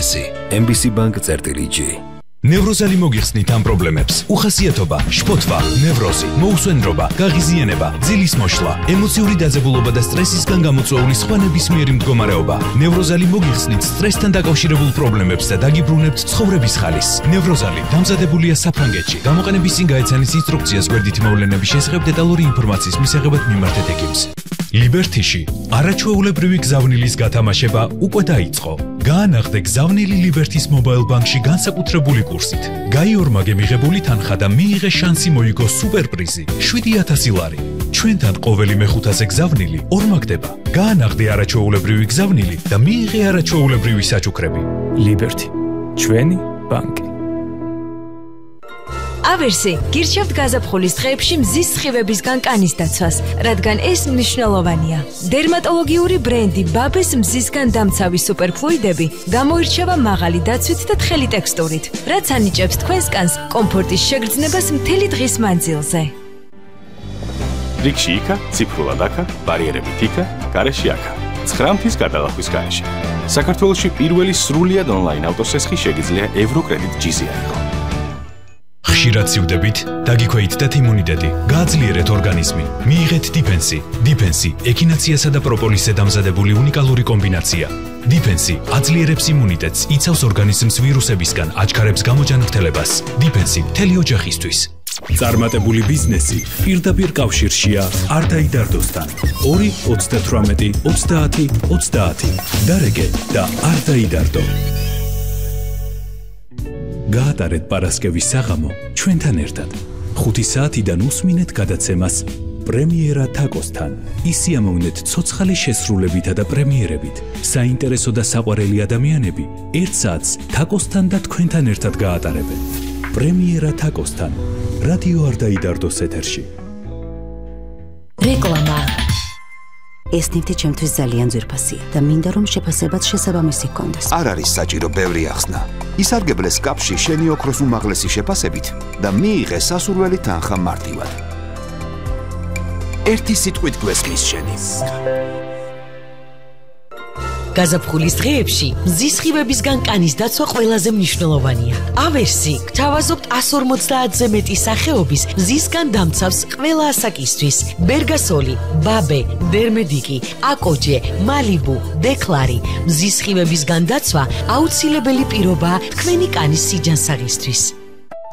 დიფენსი. MBC Bank-წერტილი-G. ნევროზალი მოგიხსნით ამ პრობლემებს. უხასიათობა, შფოთვა, ნევროზი, მოუსვენრობა, გაღიზიანება, ძილის მოშლა, ემოციური დაძაბულობა და სტრესისგან გამოწვეული სხვა ნებისმიერი მდგომარეობა. ნევროზალი მოგიხსნით სტრესთან დაკავშირებულ პრობლემებს და დაგიბრუნებთ ცხოვრების ხალის. ნევროზალი დამზადებულია საფრანგეთში. გამოყენების წინ გაეცანის ინსტრუქციას გვერდითი მოვლენების შესახებ დეტალური ინფორმაციის მისაღებად მიმართეთ ექიმს. ლიბერთიში არაჩვეულებრივი გზავნილის გათამაშება უკვე დაიწყო. გაანაღდე გზავნილი ლიბერთის მობაილ ბანკში განსაკუთრებული კურსით. გაიორმაგე მიღებული თანხა და მიიღე შანსი მოიგო სუპერპრიზი 7000 ლარი. ჩვენთან ყოველი მეხუთაზე გზავნილი ორმაგდება. გაანაღდე არაჩვეულებრივი გზავნილი და მიიღე არაჩვეულებრივი საჩუქრები. ლიბერთი, ჩვენი ბანკი. ავერსი, გირჩევთ გაზაფხულის დღეებში მზის სხივებისგან კანის დაცვას, რადგან ეს მნიშვნელოვანია. დერმატოლოგიური ბრენდი ბაბეს მზისგან დამცავი სუპერფლუიდები გამოირჩევა მაღალი დაცვით და თხელი ტექსტურით, რაც ანიჭებს თქვენს კანს კომფორტის შეგრძნებას მთელი დღის მანძილზე. რიგში იქა, ციფრულად აქა, ბარიერებით იქა, გარეში აქა. 9 მთის გადალახვის გარეშე. საქართველოში პირველი სრულიად ონლაინ ავტოსესხი შეგიძლია ევროკრედიტ G-ზე აიღო. ხშირად სივდებით, დაგიქვეითდეთ იმუნიტეტი, გააძლიერეთ ორგანიზმი, მიიღეთ დიფენსი. დიფენსი ექინაციასა და პროპოლისზე დამზადებული უნიკალური კომბინაცია. დიფენსი აძლიერებს იმუნიტეტს, იცავს ორგანიზმს ვირუსებისგან, აჩქარებს გამოჯანმრთელებას. დიფენსი მთელი ოჯახისთვის. წარმატებული ბიზნესი პირდაპირ კავშირშია არ დაიდარდოსთან. 2 38 30 30. დარეგე და არ დაიდარდო. გაატარეთ პარასკევის საღამო ჩვენთან ერთად. 5 საათიდან უსმინეთ გადაცემას პრემიერა თაკოსთან. ისიამოვნეთ ცოცხალი შესრულებითა და პრემიერებით. საინტერესო და საყვარელი ადამიანები 1 საათს თაკოსთან და თქვენთან ერთად გაატარებენ. პრემიერა თაკოსთან. რადიო არ დაიდარდოს ეთერში. რეკლამა. ეს ნივთი ჩემთვის ძალიან ძვირფასია და მინდა რომ შეფასებაც შესაბამისი გქონდეს. არ არის საჭირო ბევრი ახსნა. ისარგებლეს კაფში შენი ოქროს უმაღლესი შეფასებით და მიიღე სასურველი თანხა მარტივად. ერთი სიტყვით გვესმის შენი. გაზაფხულის დღეებში მზის სხივებისგან კანის დაცვა ყველაზე მნიშვნელოვანია. ავერსი გთავაზობთ 150-ზე მეტი სახეობის მზისგან დამცავს ყველა ასაკისთვის. ბერგასოლი, ბაბე, დერმედიკი, აკოჯე, მალიბუ, დეკლარი. მზის სხივებისგან დაცვა აუცილებელი პირობაა თქვენი კანის სიჯანსაღისთვის.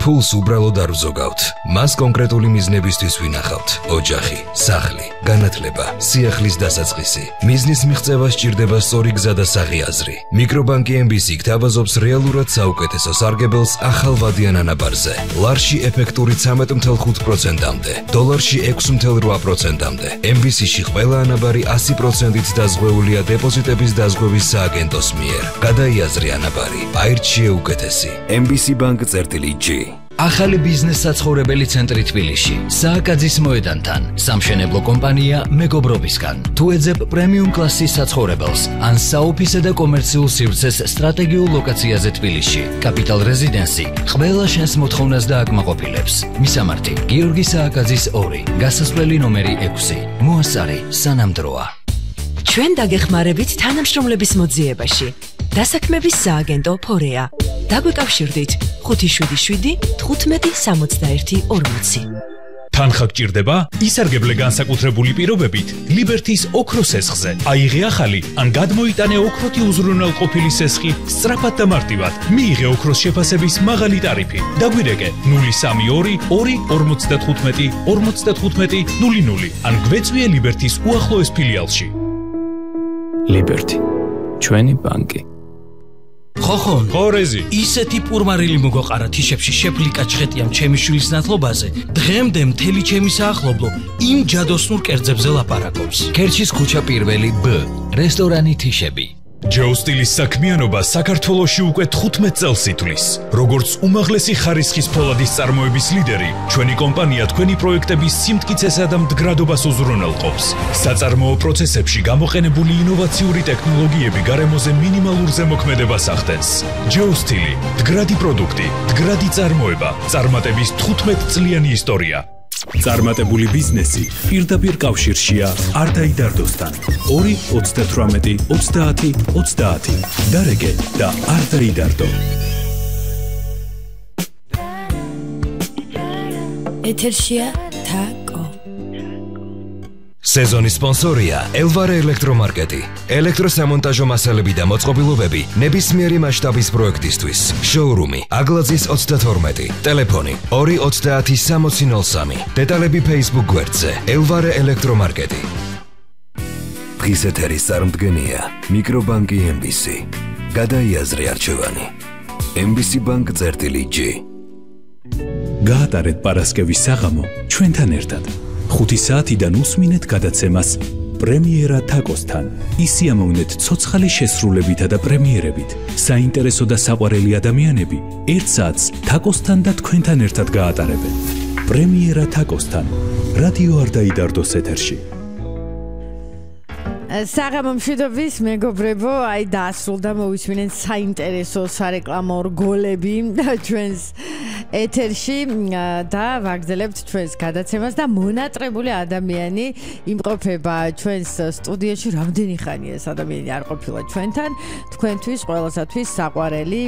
ფულს უბრალოდ არ ვზოგავთ. მას კონკრეტული მიზნებისთვის ვინახავთ. ოჯახი, სახლი, განათლება, სიახლის დასაწყისი. მიზნის მიღწევა სჭირდება სწორი გზა და საღი აზრი. მიკრობანკი MBC გთავაზობს რეალურად საუკეთესო სარგებელს ახალვადიან ანაბარზე. ლარში ეფექტური 13.5%-მდე, დოლარში 6.8%-მდე. MBC-ში ყველა ანაბარი 100%-ით დაზღვეულია დეპოზიტების დაზღვევის სააგენტოს მიერ. გადაიაზრე ანაბარი, აირჩიე უკეთესი. MBC Bank-წერტილი-G. ახალი ბიზნეს საცხოვრებელი ცენტრი თბილისში, სააკაძის მოედანთან, სამშენებლო კომპანია მეგობრობისგან. თუ ეძებ პრემიუმ კლასის საცხოვრებელს, ან საოფისე და კომერციულ სივრცეს სტრატეგიულ ლოკაციაზე თბილისში, კაპიტალ რეზიდენსი ყველა შენს მოთხოვნას დააკმაყოფილებს. მისამართი: გიორგი სააკაძის 2, გასასვლელი ნომერი 6. მოასწარი სანამ დროა. ჩვენ დაგეხმარებით თანამშრომლების მოძიებაში. დასაქმების სააგენტო ფორეა. დაგვიკავშირდით 577 15 61 40. თანხა გჭირდება? ისარგებლე განსაკუთრებული პირობებით ლიბერთის ოქროს სესხზე. აიღე ახალი ან გადმოიტანე ოქროთი უზრუნველყოფილი სესხი სწრაფად და მარტივად. მიიღე ოქროს შეფასების მაღალი ტარიფი. დაგვირეკე 032 2 55 55 00 ან გვეწვიე ლიბერთის უახლოეს ფილიალში. ლიბერთი, ჩვენი ბანკი. ხოხონ, ხორეზი, ისეთი პურმარილი მოგოყარა თიშებში შეფლიკა ჩხეტიამ ჩემი შვილის ნათლობაზე. დღემდე მთელი ჩემი საახლობლო იმ ჯადოსნურ კერძებზე ლაპარაკობს. ქერჩის ქუჩა პირველი B, რესტორანი თიშები. ჯოუ სტილის საქმიანობა საქართველოში უკვე 15 წელს ითვლის. როგორც უმაღლესი ხარისხის ფოლადის წარმოების ლიდერი, ჩვენი კომპანია თქვენი პროექტების სიმტკიცესა და მდგრადობას უზრუნველყოფს. საწარმოო პროცესებში გამოყენებული ინოვაციური ტექნოლოგიები გარემოზე მინიმალურ ზემოქმედებას ახდენს. ჯოუ სტილი, მდგრადი პროდუქტი, მდგრადი წარმოება, წარმატების 15 წლიანი ისტორია. წარმატებული ბიზნესი პირდაპირ კავშირშია არდაიდარდოსთან. 2 38 30 30. დარეგე და არდაიდარდო. ეთერშია თაკო. სეზონის სპონსორია ელვარე ელექტრომარკეტი. ელექტროსამონტაჟო მასალები და მოწყობილობები ნებისმიერი მასშტაბის პროექტისთვის. შოურუმი აგლაძის 32. ტელეფონი 230 დეტალები Facebook გვერდზე ელვარე ელექტრომარკეტი. დღის ეთერის წარმდგენია მიკრობანკი MBC. გადაიაზრე არჩევანი. MBC Bank წერტილი-G. გაატარეთ პარასკევის საღამო ჩვენთან ერთად. 5 საათიდან უსმინეთ გადაცემას პრემიერა თაკოსთან. ისიამოვნეთ ცოცხალი შესრულებითა და პრემიერებით. საინტერესო და საყვარელი ადამიანები 1 საათს თაკოსთან და თქვენთან ერთად გაატარებენ. პრემიერა თაკოსთან. რადიო არდაიდარდოს ეთერში. საღამო მშვიდობის მეგობრებო, აი დაასრულდა მოვისმინეთ საინტერესო სარეკლამო რგოლები ჩვენს ეთერში და ვაგრძელებთ ჩვენს გადაცემას და მონატრებული ადამიანი იმყოფება ჩვენს სტუდიაში. რამდენი ხანია ეს ადამიანი არ ყოფილა ჩვენთან? თქვენთვის ყველასათვის საყვარელი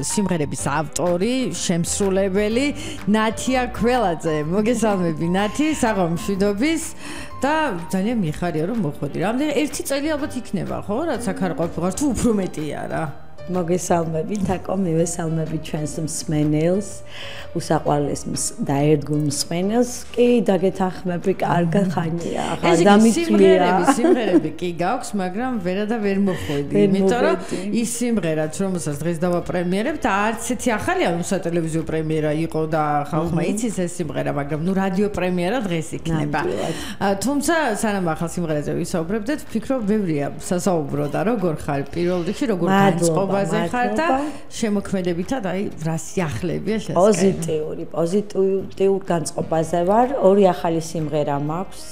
სიმღერების ავტორი, შემსრულებელი ნათია ქველაძე. მოგესალმები ნათი, საღამო მშვიდობის. და ძალიან მიხარია რომ მოხვედი. რამდენი 1 წელი ალბათ იქნება, ხო? რაც აქ არ ყოფილიყარ, თუ უფრო მეტია რა. მოგესალმები, თაკო, მივესალმები ჩვენს მსმენელს, უსაყვარლეს და ერთგულ მსმენელს. კი, დაგეთანხმები, კარგი ხანია, ახლა დამიწვია. სიმღერები კი გაქვს, მაგრამ ვერა და ვერ მოხვედი. იმიტომ რომ ის სიმღერაც, რომელსაც დღეს დავაპრემიერებ და არც ერთი ახალი სატელევიზიო პრემიერა იყო და ხალხმა იცის ეს სიმღერა, მაგრამ ნუ რადიო პრემიერა დღეს იქნება. თუმცა სანამ ახალ სიმღერაზე ვისაუბრებდეთ, ვფიქრობ, ბევრია სასაუბრო და როგორ ხარ პირველ რიგში, როგორ განწყობ ბაზე ხარ და შემოქმედებითად აი რა სიახლებია შესაძლებელი. პოზიტიურ განწყობაზე ვარ. 2 ახალი სიმღერა მაქვს.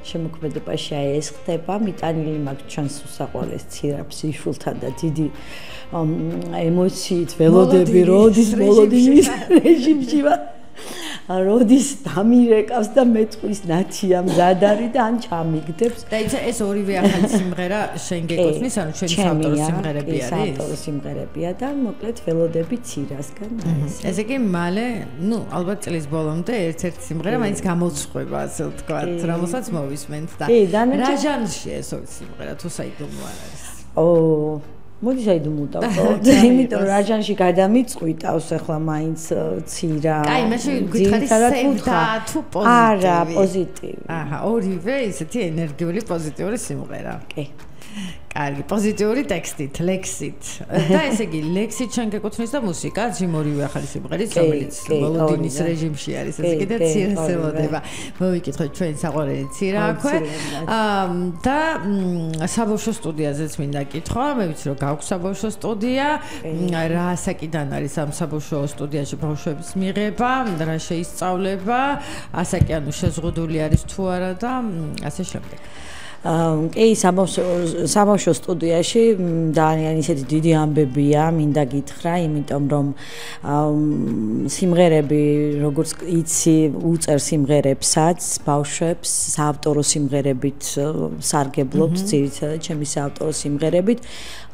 შემოქმედებაში აი ეს ხდება. მიტანილი მაქვს ჩვენს უსაყვარლეს ცირაპს იშულთან და დიდი ემოციით ველოდები როდის მოლოდინის რეჟიმში ვარ. როდის დამირეკავს და მეტყვის ნათია მზადარი და ან ჩამიგდებს. და ეს ორივე ახალი სიმღერა შენ გეკუთვნის, ანუ შენი საავტორო სიმღერები არის? საავტორო სიმღერებია და მოკლედ ველოდები ცირასგან. ესე იგი მალე, ნუ ალბათ წლის ბოლომდე ერთ-ერთი სიმღერა მაინც გამოცხვება, ასე ვთქვათ, რომელსაც მოვისმენთ და რა ჟანრშია ეს სიმღერა, თუ საიდუმლო არ არის? მოდი საიდუმლო იმიტომ რომ რაჟანში გადამიწყვიტავს ახლა მაინც ცირა. აი, მაშინ გითხარი სევდა თუ პოზიტივი? არა, პოზიტივი. აჰა, ორივე ისეთი ენერგიული პოზიტიური სიმღერა. კი. კარგი, პოზიტიური ტექსტით, ლექსით. და ესე იგი, ლექსით შენ გეკუთვნის და მუსიკაც იმ ორივე ახალი სიმღერით, რომელიც მოლოდინის რეჟიმში არის, ესე იგი და ცირას ელოდება. მოვიკითხოთ ჩვენ საყვარელი ცირა აქვე. და საბავშვო სტუდიაზეც მინდა კითხვა, მე ვიცი რომ გაქვს საბავშვო სტუდია. რა ასაკიდან არის ამ საბავშვო სტუდიაში ბავშვების მიღება, რა შეისწავლება, ასაკი ანუ შეზღუდული არის თუ არა და ასე შემდეგ. კი, საბავშვო სტუდიაში ძალიან ისეთი დიდი ამბებია, მინდა გითხრა, იმიტომ რომ სიმღერები, როგორც იცი, უწერ სიმღერებსაც, ბავშვებს საავტორო სიმღერებით სარგებლობთ, ძირითადად ჩემი საავტორო სიმღერებით,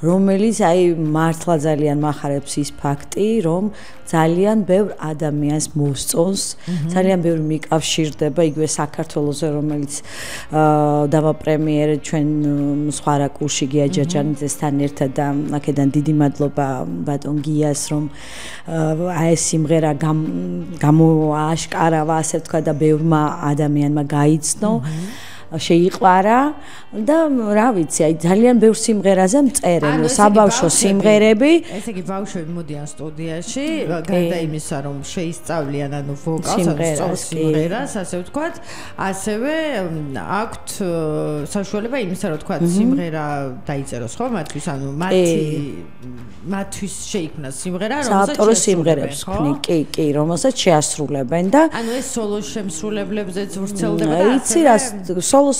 რომელიც აი მართლა ძალიან მახარებს ის ფაქტი, რომ ძალიან ბევრ ადამიანს მოსწონს, ძალიან ბევრი მიკავშირდება იგივე საქართველოზე, რომელიც დავაპრემიერეთ ჩვენ სხვა რაკურსში გია ჯაჯანიძესთან ერთად და აქედან დიდი მადლობა ბატონ გიას, რომ აი ეს სიმღერა გამოაშკარავა, ასე ვთქვა და ბევრმა ადამიანმა გაიცნო. შეიყვარა და რა ვიცი, აი ძალიან ბევრ სიმღერაზე მწერენ საბავშვო სიმღერები. ესე იგი ბავშვები მოდიან სტუდიაში, გარდა იმისა, რომ შეისწავლიან ანუ ვოკალს, ანუ სიმღერას, ასე ვთქვათ, ასევე აქვთ საშუალება იმისა, რომ ვთქვათ, სიმღერა დაიწეროს ხო მათთვის, ანუ მათი მათთვის შეიქმნა სიმღერა, საავტორო სიმღერებს ქმნი, კი, რომელსაც შეასრულებენ და ანუ ეს სოლო შემსრულებლებზეც ვრცელდება და იცი რა, სოლო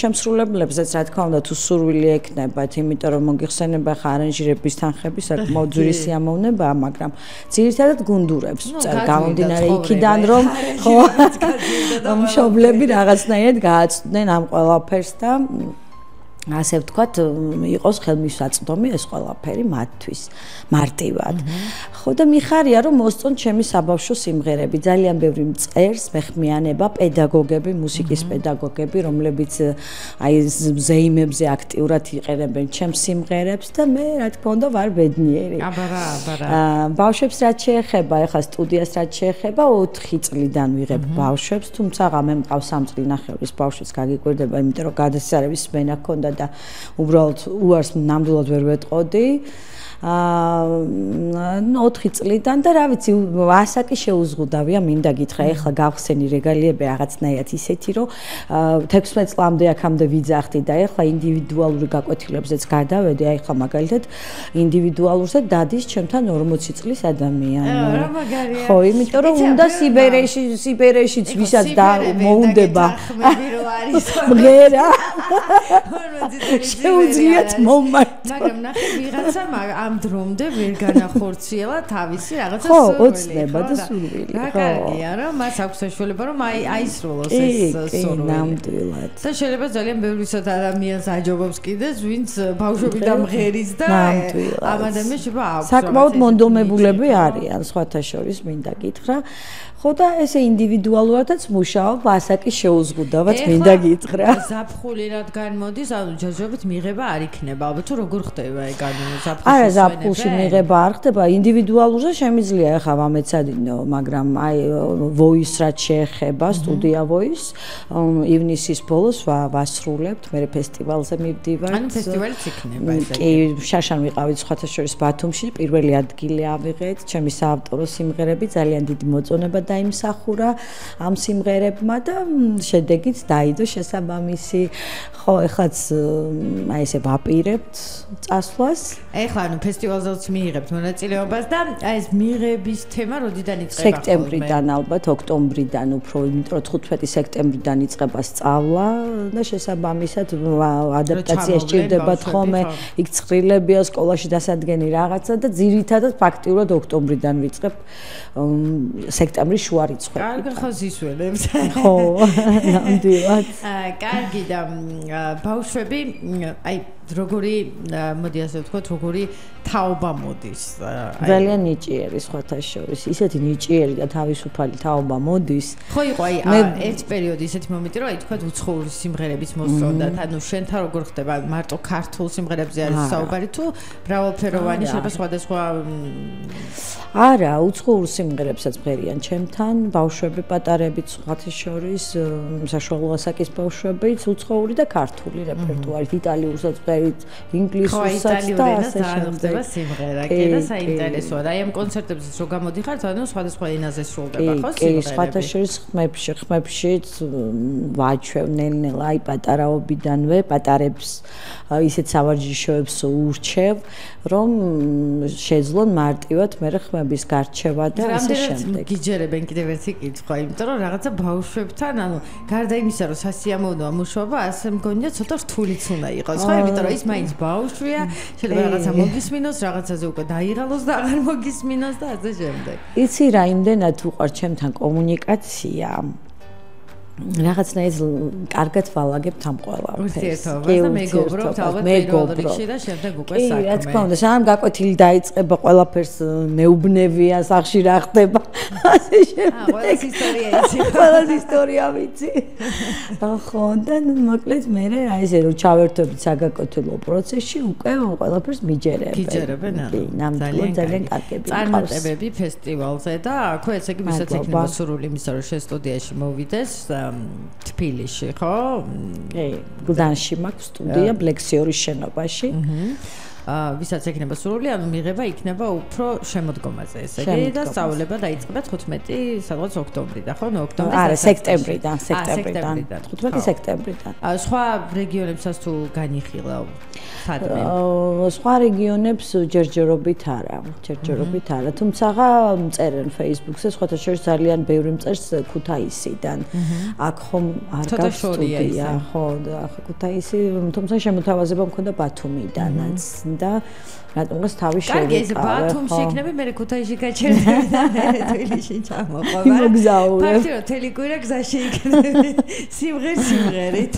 შემსრულებლებზეც რა თქმა უნდა თუ სურვილი ექნებათ, იმიტომ რომ მოგიხსენება ხა არანჟირების თანხები საკმაოდ ძვირი სიამოვნებაა, მაგრამ ძირითადად გუნდურებს წერ გამომდინარე იქიდან რომ ხო მშობლები რაღაცნაირად გააცდნენ ამ ყველაფერს და ასე ვთქვათ, იყოს ხელმისაწვდომი ეს ყველაფერი მათთვის მარტივად. ხო და მიხარია რომ მოსწონთ ჩემი საბავშვო სიმღერები, ძალიან ბევრი მწერს, მეხმიანება, პედაგოგები, მუსიკის პედაგოგები, რომლებიც აი ზეიმებზე აქტიურად იყენებენ ჩემს სიმღერებს და მე რა თქმა უნდა ვარ ბედნიერი. აბარა. ბავშვებს რაც შეეხება, ეხლა სტუდიას რაც შეეხება 4 წლიდან ვიღებ ბავშვებს, თუმცა მე მყავს 3 წლინახევრის ბავშვიც გაგიკვირდება, იმიტომ რომ გადასარების სმენა ჰქონდა და უბრალოდ უარს ნამდვილად ვერ ვეტყოდი. 4 წლიდან და რა ვიცი, ასაკი შეუზღუდავია, მინდა გითხრა, ეხლა გავხსენი რეგალიები რაღაცნაირად ისეთი, რომ 16 წლამდე აქამდე ვიძახდი და ეხლა ინდივიდუალური გაკვეთილებზეც გადავედი, აი ეხლა მაგალითად ინდივიდუალურზე დადის ჩემთან 40 წლის ადამიანი. რა მაგარია. ხო, იმიტომ რომ უნდა სიბერეშიც ვისაც მოუნდება. მღერა. შეუძლიათ მომმართ. მაგრამ ნახე ვიღაცა ამ დრომდე ვერ განახორციელა თავისი რაღაცა სურვილი. ხო, ოცნება და სურვილი. რა კარგია, რომ მას აქვს საშუალება, რომ აისრულოს ეს სურვილი. ნამდვილად. და შეიძლება ძალიან ბევრისად ადამიანს აჯობობს კიდეც, ვინც ბავშვობიდან მღერის და ამ ადამიანს შეიძლება აქვს. საკმაოდ მონდომებულები არიან, სხვათა შორის მინდა გითხრა. ხო და ესე ინდივიდუალურადაც მუშაობ, ასაკი შეუზღუდავად მინდა გითხრა. ზაფხული რადგან მოდის, ანუ ჯერჯერობით მიღება არ იქნება, ალბათ თუ როგორ ხდება ეგ ანუ ზაფხულში? არა, ზაფხულში მიღება არ ხდება, ინდივიდუალურზე შემიძლია ახლა ვამეცადინო, მაგრამ აი voice რაც შეეხება, სტუდია voice, ივნისის ბოლოს ვასრულებთ, მე ფესტივალზე მივდივართ. ანუ ფესტივალიც იქნება ესე. კი, შაშან ვიყავით სხვათა შორის ბათუმში, პირველი ადგილი ავიღეთ, ჩემი საავტორო სიმღერები, ძალიან დიდი მოწონება დაიმსახურა ამ სიმღერებმა და შედეგიც დაიდო შესაბამისი. ხო, ეხლაც აი ესე ვაპირებთ წასვლას. ეხლა ანუ ფესტივალზეც მიიღებთ მონაწილეობას და აი ეს მიღების თემა როდიდან იწყება? სექტემბრიდან ალბათ, ოქტომბრიდან უფრო, იმიტომ რომ 15 სექტემბრიდან იწყება სწავლა და შესაბამისად ადაპტაცია სჭირდებათ ხოლმე, იქ ცხრილებია, სკოლაში დასადგენი რაღაცა და ძირითადად ფაქტიურად ოქტომბრიდან ვიწყებ სექტემბრის შუა რიცხვები. კარგი ხო ზისველებს. ხო, ნამდვილად. კარგი და ბავშვები, აი როგორი მოდი ასე ვთქვათ, როგორი თაობა მოდის. ძალიან ნიჭიერი სხვათა შორის, ისეთი ნიჭიერი და თავისუფალი თაობა მოდის. ხო იყო აი ერთ პერიოდი ისეთი მომენტი, რომ აი თქვათ უცხოური სიმღერების მოსწონდათ, ანუ შენთან როგორ ხდება, მარტო ქართულ სიმღერებზე არის საუბარი თუ მრავალფეროვანი შეიძლება სხვადასხვა არა, უცხოურ სიმღერებსაც მღერიან ჩემთან, ბავშვები პატარებიც სხვათა შორის, საშუალო ასაკის ბავშვებიც, უცხოური და ქართული რეპერტუარით, იტალიურსაც მღერით, ინგლისურსაც და ასე შემდეგ. სიმღერა კი და საინტერესოა. აი ამ კონცერტებზე რო გამოდიხართ, ანუ სხვადასხვა ენაზე სრულდება ხო სიმღერები? კი, სხვათა შორის ხმებშიც ვაჩვევ ნელ-ნელა აი პატარაობიდანვე პატარებს ისეთ სავარჯიშოებს ურჩევ, რომ შეძლონ მარტივად მე ხმების გარჩევა და ასე შემდეგ. გიჯერებენ კიდევ ერთი კითხვა, იმიტომ რომ რაღაცა ბავშვებთან, ანუ გარდა იმისა, რომ სასიამოვნოა მუშაობა, ასე მგონია ცოტა რთულიც უნდა იყოს, ხო? იმიტომ რომ ის მაინც ბავშვია, შეიძლება რაღაცა მოგისმინოს, რაღაცაზე უკვე დაიღალოს და აღარ მოგისმინოს და ასე შემდეგ. იცი რა, იმდენად უყვარს ჩემთან კომუნიკაცია. რაღაცნაირად კარგად ვალაგებთ ამ ყველაფერს. ურთიერთობას და მეგობრობთ ალბათ პირველ რიგში და შემდეგ უკვე საქმე. კი, რა თქმა უნდა, სანამ გაკვეთილი დაიწყება, ყველაფერს მეუბნებია, სახში რა ხდება. ასე შემდეგ. ყველას ისტორია იცი. ყველას ისტორია ვიცი. ხო, და მოკლედ მე აი ესე რომ ჩავერთვებით საგაკვეთილო პროცესში, უკვე ყველაფერს მიჯერებენ. გიჯერებენ, ანუ. კი, ნამდვილად ძალიან კარგები. წარმატებები ფესტივალზე და აქვე ესე იგი ვისაც ექნება სურვილი იმისა, რომ შენ სტუდიაში მოვიდეს. თბილისში, ხო? კი, გლდანში მაქვს სტუდია, ბლექსიორის შენობაში. ვისაც ექნება სურვილი, ანუ მიღება იქნება უფრო შემოდგომაზე, ესე იგი და სწავლება დაიწყება 15 სადღაც ოქტომბრიდან, ხო? ოქტომბრის არა, სექტემბრიდან, 15 სექტემბრიდან. სხვა რეგიონებსაც თუ განიხილა სადმე? სხვა რეგიონებს ჯერჯერობით არა, თუმცა წერენ Facebook-ზე, სხვათა შორის ძალიან ბევრი მწერს ქუთაისიდან. აქ ხომ არ გაქვს სტუდია, ხო, ახლა ქუთაისი, თუმცა შემოთავაზება მქონდა ბათუმიდანაც და რატომღაც თავი შევიყავ. კარგი, ეს ბათუმში იქნება, მე ქუთაისში გაჩერდები და მე თბილისში ჩამოყვავ. ფაქტია, თელიკურა გზაში იქნება. სიმღერით.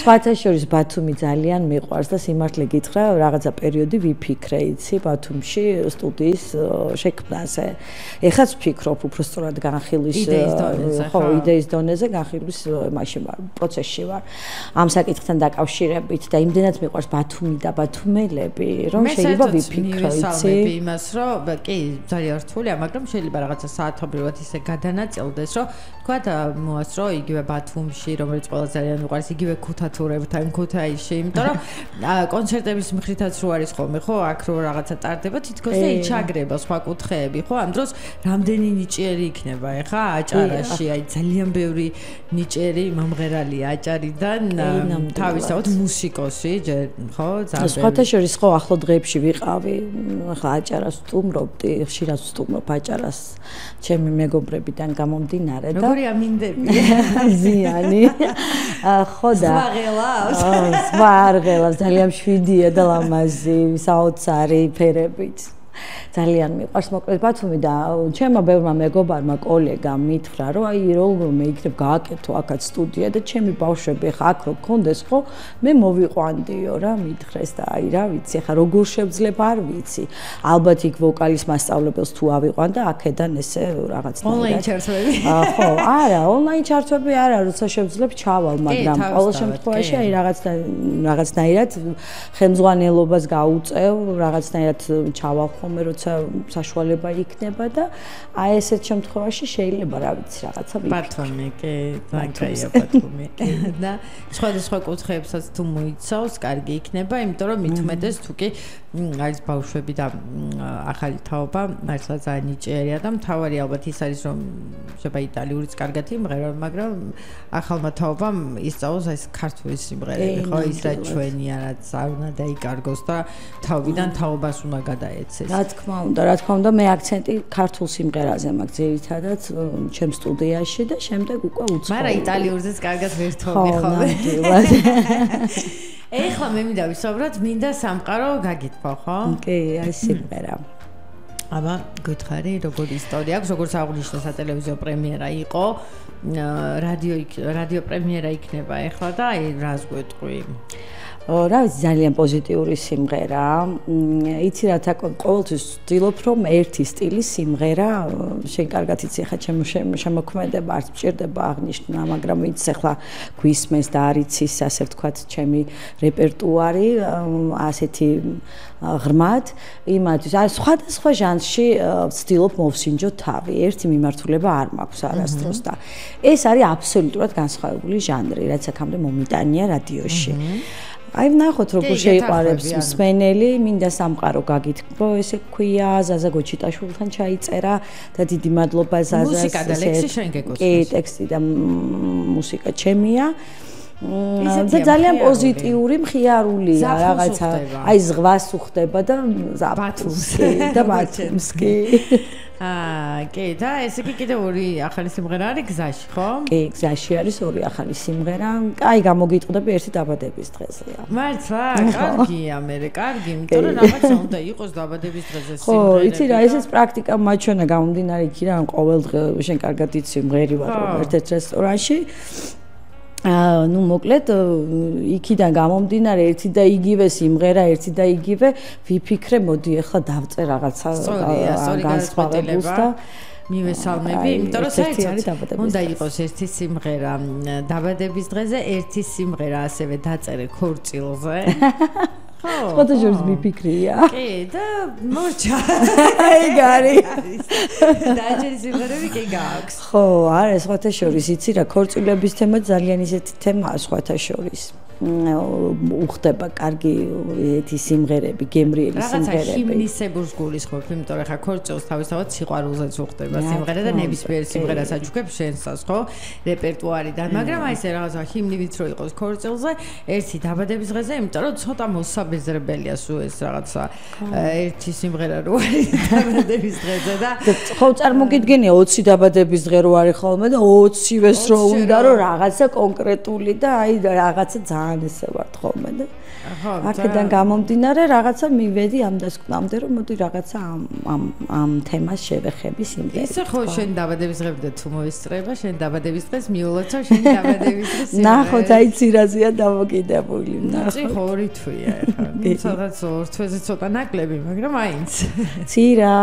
სხვათა შორის ბათუმი ძალიან მიყვარს და სიმართლე გითხრა, რაღაცა პერიოდი ვიფიქრე, იცი, ბათუმში სტუდიის შექმნაზე. ეხაც ვფიქრობ უბრალოდ განხილვის იდეის დონეზე განხილვის მაშინ ვარ, პროცესში ვარ. ამ საკითხთან დაკავშირებით და იმდენად მიყვარს ბათუმი და ბათუმელები, რომ შეიძლება ვიფიქრო, იცი? იმას, რომ კი, ძალიან რთულია, მაგრამ შეიძლება რაღაცა საათობრივად ისე გადანაწილდეს, რომ თქვათ მოასწრო იგივე ბათუმში, რომელიც ყველა ძალიან მიყვარს, იგივე ქუთათურებთან, ქუთაისში, იმიტომ რომ კონცერტების მხრითაც რო არის ხოლმე, ხო, აქ რო რაღაცა ტარდება, თითქოს და იჩაგრება სხვა კუთხეები, ხო? ამ დროს რამდენი ნიჭიერი იქნება, ეხა აჭარაში, აი ძალიან ბევრი ნიჭიერი მომღერალია აჭარიდან, თავისთავად მუსიკოსი, ხო, ძალიან. სხვათა შორის ხო ახლო დღეებში ვიყავი, ახლა აჭარას ვსტუმრობდი, ხშირად ვსტუმრობ აჭარას ჩემი მეგობრებიდან გამომდინარე და როგორი ამინდები? ზიანი. ხო და სხვა არ ღელავს, ძალიან მშვიდია და ლამაზი, საოცარი ფერებით. ძალიან მიყვარს მოკლედ ბათუმი და ჩემმა ბევრმა მეგობარმა კოლეგამ მითხრა რომ აი რომ მეიქნებ გააკეთო აქაც სტუდია და ჩემი ბავშვები ხა აქ რო გქონდეს ხო მე მოვიყვანდიო რა მითხრეს და აი რა ვიცი ხა როგორ შევძლებ არ ვიცი ალბათ იქ ვოკალის მასწავლებელს თუ ავიყვან და აქედან ესე რაღაცნაირად ონლაინ ჩართვები ხო არა ონლაინ ჩართვები არა როცა შევძლებ ჩავალ მაგრამ ყოველ შემთხვევაში აი რაღაცნაირად ხელმძღვანელობას გაუწევ რაღაცნაირად ჩავალ ხოლმე როცა საშუალება იქნება და აი ესეთ შემთხვევაში შეიძლება რა ვიცი რაღაცა ვიქნებ. ბათუმი, კი, ბანკაია ბათუმი. და სხვადასხვა კუთხეებსაც თუ მოიცავს, კარგი იქნება, იმიტომ რომ მithumetes თუ კი არის ბავშვები და ახალი თაობა, მართლა ძალიან ნიჭიერია და მთავარი ალბათ ის არის რომ შეიძლება იტალიურიც კარგად იმღერა, მაგრამ ახალმა თაობამ ისწავლოს ეს ქართული სიმღერები, ხო, ის რა ჩვენია, რაც არ უნდა დაიკარგოს და თაობიდან თაობას უნდა გადაეცეს. რა თქმა უნდა, მე აქცენტი ქართულ სიმღერაზე მაქვს ძირითადად ჩემ სტუდიაში და შემდეგ უკვე უცხო. მაგრამ იტალიურზეც კარგად ვერთობი ხოლმე. ეხლა მე მინდა ვისაუბროთ, მინდა სამყარო გაგითხრა, ხო? კი, აი სიმღერა. აბა, გითხარი, როგორი ისტორია აქვს, როგორც აღნიშნა სატელევიზიო პრემიერა იყო, რადიო პრემიერა იქნება ეხლა და აი რას გვეტყვი? რა ვიცი ძალიან პოზიტიური სიმღერა. იცი რა ყოველთვის ვცდილობ რომ ერთი სტილის სიმღერა შენ კარგად იცი ხა შემოქმედება არც მჭირდება აღნიშნა, მაგრამ იცი ხა გვისმენს და არ იცის ასე ვთქვათ ჩემი რეპერტუარი ასეთი ღრმად იმათთვის აი სხვადასხვა ჟანრში ვცდილობ მოვსინჯო თავი. ერთი მიმართულება არ მაქვს არასდროს და ეს არის აბსოლუტურად განსხვავებული ჟანრი, რაც აქამდე მომიტანია რადიოში. აი ვნახოთ როგორ შეიყვარებს მსმენელი, მინდა სამყარო გაგითხრა, ესე ქვია, ზაზა გოჩიტაშვილთან ჩაიწერა და დიდი მადლობა ზაზას. მუსიკა და ლექსი შენ გეკოსმის. კი, ტექსტი და მუსიკა ჩემია. და ძალიან პოზიტიური მხიარულია რაღაცა. აი ზღვას უხდება და ბათუმსკი და ბათუმსკი. კი, და ესე კი კიდე ორი ახალი სიმღერა არის გზაში, ხო? კი, გზაში არის ორი ახალი სიმღერა. აი, გამოგიტყდები ერთი დაბადების დღეზეა. მართლა, კარგია, მე კარგი, იმიტომ რომ რაღაცა უნდა იყოს დაბადების დღეზე სიმღერები. ხო, იცი რა, ესეც პრაქტიკა მაჩვენა გამომდინარე იქიდან, რომ ყოველ დღე შენ კარგად იცი მღერი ვარ ერთ-ერთ რესტორანში. ну მოკლედ იქიდან გამომდინარე ერთი და იგივე სიმღერა ერთი და იგივე ვიფიქრე მოდი ახლა დავწერ რაღაცა განსხვავებულს და მივესალმები, იმიტომ რომ საერთოდ უნდა იყოს ერთი სიმღერა დაბადების დღეზე, ერთი სიმღერა ასევე დაწერე ქორწილზე. სხვათა შორის მიფიქრია. კი, და მორჩა. ეგ არის. დაჭერი სიმღერები კი გაქვს. ხო, არა, სხვათა შორის იცი რა, ქორწილების თემა ძალიან ისეთი თემაა სხვათა შორის. უხდება კარგი ეთი სიმღერები, გემრიელი სიმღერები. რაღაცა ჰიმნისებურს გულისხმობ, იმიტომ რომ ხა ქორწილს თავისთავად სიყვარულზეც უხდება სიმღერა და ნებისმიერ სიმღერას აჩუქებს შენსას, ხო? რეპერტუარიდან, მაგრამ აი ესე რაღაცა ჰიმნივით რო იყოს ქორწილზე, ერთი დაბადების დღეზე, იმიტომ რომ ცოტა მოსაბეზრებელია სულ ეს რაღაცა ერთი სიმღერა რო არის დაბადების დღეზე და ხო წარმოგიდგენია 20 დაბადების დღე რო არის ხოლმე და 20-ვეს რო უნდა რომ რაღაცა კონკრეტული და აი რაღაცა ძალიან ესე ვარ ხოლმე და აქედან გამომდინარე რაღაცა მივედი ამ დასკვნამდე რომ მოდი რაღაცა ამ თემას შევეხები სიმღერით. ისე ხო შენ დაბადების დღემდე თუ მოისწრება, შენ დაბადების დღეს მიულოცო შენ დაბადების დღეს სიმღერა. ნახოთ აი ცირაზეა დამოკიდებული, ნახოთ. ცი ხო რითვია ახლა. სადაც ორ თვეზე ცოტა ნაკლები, მაგრამ აინც. ცირა